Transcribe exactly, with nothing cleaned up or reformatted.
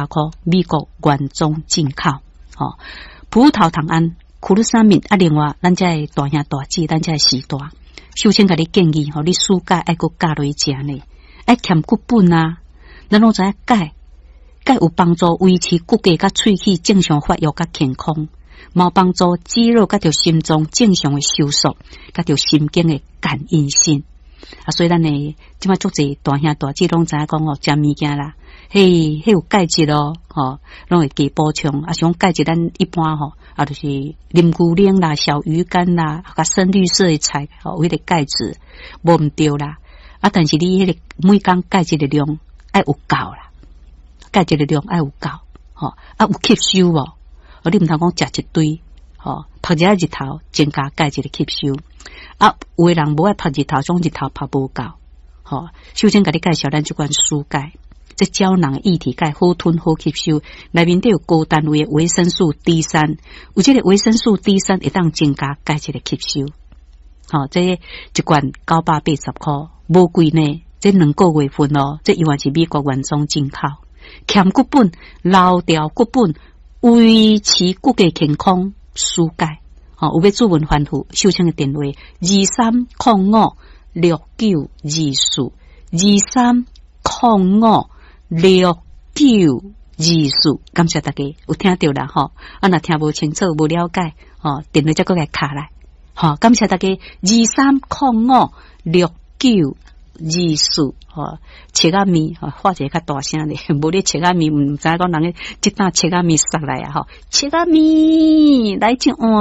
百箍，美國原裝進口。吼，葡萄糖胺、glucosamine 啊，另外咱這的大兄大姊，咱這的時代，秀清共你建議吼，你暑假愛閣加落去食呢，愛添骨粉啊，咱攏知影鈣，鈣有幫助維持骨骼佮喙齒正常發育佮健康，嘛有幫助肌肉佮著心臟正常的收縮，佮著神經的感應性。啊，所以咱的這馬足濟大兄大姊攏知影講哦，食物件啦，嘿，彼有鈣質咯，吼，攏會加補充。啊，像鈣質咱一般吼，啊，就是啉牛奶啦、小魚乾啦、較深綠色的菜，吼，有彼個鈣質，無毋對啦。啊，但是你彼個每工鈣質的量愛有夠啦，鈣質的量愛有夠，吼，啊有吸收無？哦，你毋通講食一堆，吼，曝一下日頭增加鈣質的吸收。啊，有的人無愛曝日頭，總日頭曝無夠，吼。首先共你介紹咱這款舒鈣，這膠囊液體鈣好吞好吸收，內面底有高單位的維生素 D 三，有這個維生素 D 三會當增加鈣質的吸收。吼，這一罐九百八十箍，無貴呢。這兩個月份哦，這猶原是美國原裝進口，添骨粉、老掉骨粉，維持骨骼健康，舒鈣。吼，有欲諮詢番號，秀清的電話二三空五六九二四，二三空五六九二四，感謝大家有聽著啦吼，啊，若聽無清楚、無了解，吼，電話再閣來敲來，吼，感謝大家二三空五六九二四，吼，切仔麵，吼，喊一个較大聲咧，無咧切仔麵，毋知影講人咧這頓切仔麵殺來啊，吼，切仔麵來一碗。